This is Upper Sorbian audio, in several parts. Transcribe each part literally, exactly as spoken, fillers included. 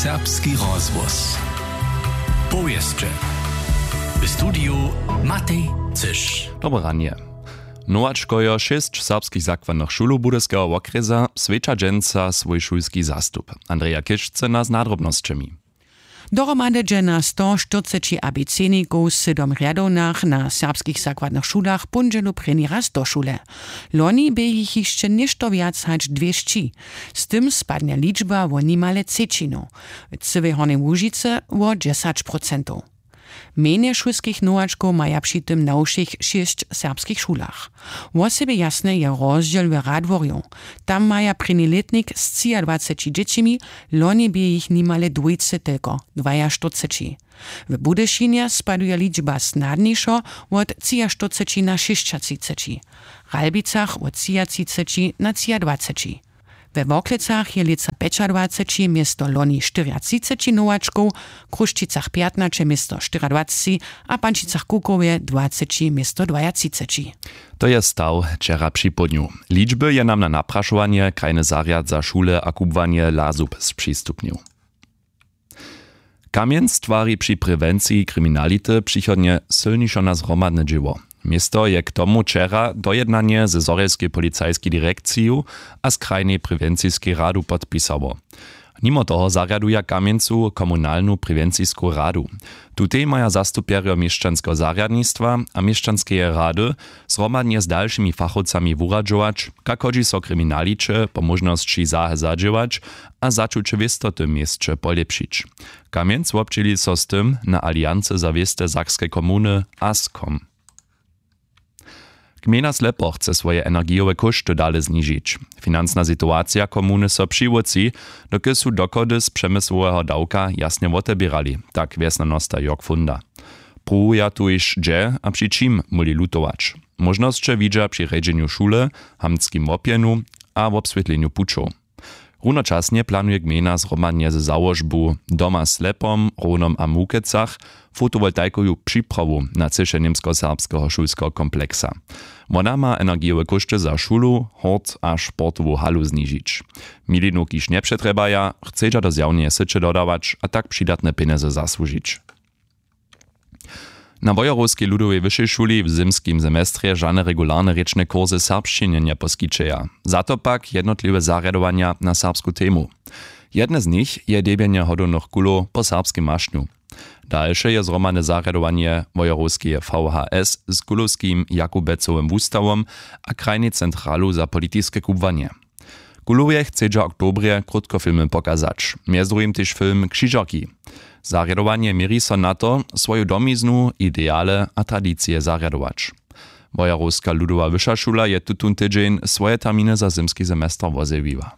Serbski rozhłos. Powěsće. W studiju Matej Cyš. Dobre ranje. Nowačkojo šěsć serbskich zakładnych šulow Budyskeho wokrjesa swjeća dźensa swój šulski zastup. Andreja Kišce z nadrobnosćemi. Dohromady dźe na sto štyrceći abecednikow sydom rjadownach na serbskich zakładnych šulach póndźelu prěni raz do šule. Loni bě jich hišće něšto wjac hač dwěsći. Z tym spadnje ličba wo nimale třećinu, w cyłej Hornjej Łužicy wo dźesać procentow. Mjenje šulskich nowačkow maja při tym na wšěch šěsć serbskich šulach. Wosebje jasny je rozdźěl w Radworju. Tam maja prěni lětnik z třiadwaceći dźěćimi, loni bě jich nimale dwójce telko, dwajaštyrceći. W Budyšinje spaduje ličba snadnišo wot třiaštyrceći na šěsćatřiceći, w Ralbicach wot třiatřiceći na třiadwaceći. We Worklecach je lětsa pjećadwaceći město loni štyriatřiceći nowačkow, w Chrósćicach pjatnaće město štyriadwaceći a w Pančicach Kukowje dwaceći město dwaatřiceći. To je staw wčera připołdnju. Ličby je nam na naprašowanje krajny zarjad za šule a kubłanje LASUB přistupnił. Kamjenc twari při prewenciji kriminality přichodnje sylnišo na zhromadne dźěło. Město je k tomu wčera dojednanje ze zhorjelskej policajskej direkciju a z krajnej prewenciskej radu podpisało. Nimo toho zarjaduja w Kamjencu komunalnu prewencisku radu. Tutej maja zastupjerjo měšćanskeho zarjadnistwa a měšćanskeje rady zhromadnje z dalšimi fachowcami wuradźować, kak hodźi so kriminaliće po móžnosći za- zadźěłać a začuće wěstoty w měsće polěpšić. Kamjenc wobdźěli so z tym na Aliancy za wěste Sakske komuny, ascom. Gmejna Slepo chce swoje energijowe kóšty dale znižić. Financna situacija komuny so přiwótři, dokelž su dochody z přemysłoweho dawka jasnje woteběrali, tak wjesnjanosta Jörg Funda. Pruwuja tuž hdźe a při čim móhli lutować. Móžnosće widźa při rjedźenju šule, hamtskim wopjenju a wobswětlenju pućow. Runočasnje planuje gmejna zhromadnje ze załožbu Doma Slepom, Rownom a Mukecach fotowoltaikowu připrawu na třěše němskoserbskeho šulskeho kompleksa. Wona ma energijowe kóšty za šulu, hort a sportowu halu znižić. Milinow kiž njepřetrjebaja, chcedźa do zjawneje syće dodawać a tak přidatne pjenjezy zasłužić. Na Wojerowskej ludowej wyšej šuli w zymskim semestrje žane regularne rěčne kursy w serbšćinje njeposkićeja. Za to pak jednotliwe zarjadowanja na serbsku temu. Jedne z nich je debjenje hodownych kulow po serbskim mašnju. Dalše je zhromadne zarjadowanje Wojerowskeje V H S z kulowskim Jakubecowym wustawom a krajnej centralu za politiske kubłanje. Kulowje chcedźa w oktobrje krótkofilmy pokazać, mjez druhim tež film Křižerki. Zarjadowanje měri so na to, swoju domiznu, ideale a tradicije zarjadować. Wojerowska ludowa wyša šula je tutón tydźeń swoje terminy za zymski semester wozjewiła.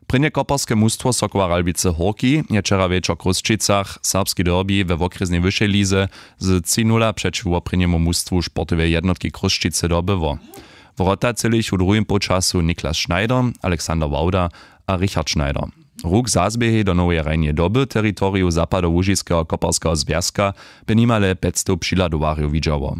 Prěnje koperske mustwo Sokoła Ralbicy Hórki je wčera wječor w Chrósćicach serbski derbi we wokrjesnej wyšej lize z tři nula přećiwo prěnjemu mustwu sportoweje jednotki Chrósćicy dobyło. Wrota třělich w druhim połčasu Niklas Schneider, Alexander Wauda a Richard Schneider. Ruk zazběhej do Noweje Rajneje doby w teritoriju zapadołužiskeho koperskeho zwjazka bě nimale pjećstow přihladowarjow widźało.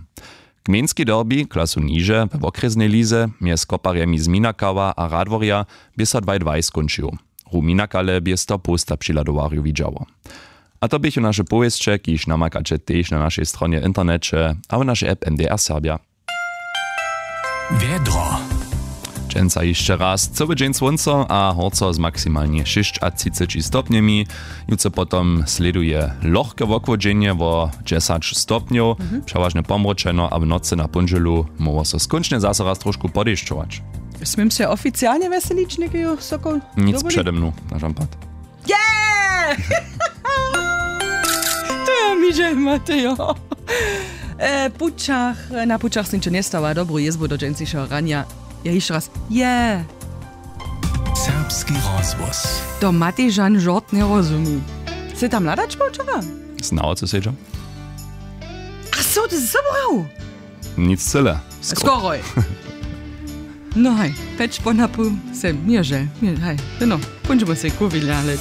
Gmejnski derbi klasu niže we wokrjesnej lize mjez koparjemi z Minakała a Radworja bě so dwaj dwaj skónčił. Ru Minakale bě sto połsta přihladowarjow widźało. A to běchu naše powěsće, kiž namakaće tež na našej stronje w interneće a w našej app M D R Serbja. Wjedro. Dźensa hišće raz cyły dźeń słónco a horco z maksimalnje šěsćatřiceći stopnjemi. Jutře potom slěduje lochke wochłodźenje wo dźesać stopnjow, přewažnje pomročeno a w nocy na póndźelu móhło so skónčnje zaso raz trošku podešćować. Smím se oficialnje wjeselić, někeju Sokol? Nic přede mnu, na žampad. Yeah! To je mi, že Matejo. E, pućach, na pućach sniče njestała dobru jězbu do dźensnišeho ranja. Ja hišće raz, yeah! Serbski rozhłos. To Matej žan žort njerozumi. Sy tam hladać był wčera? Znało co sedźa? A so ty zabrał? Nic cyle. Skoroj. No haj, pjeć po na pół sem, měrže, měrže, haj, no, póńdźmy se kuwili, ale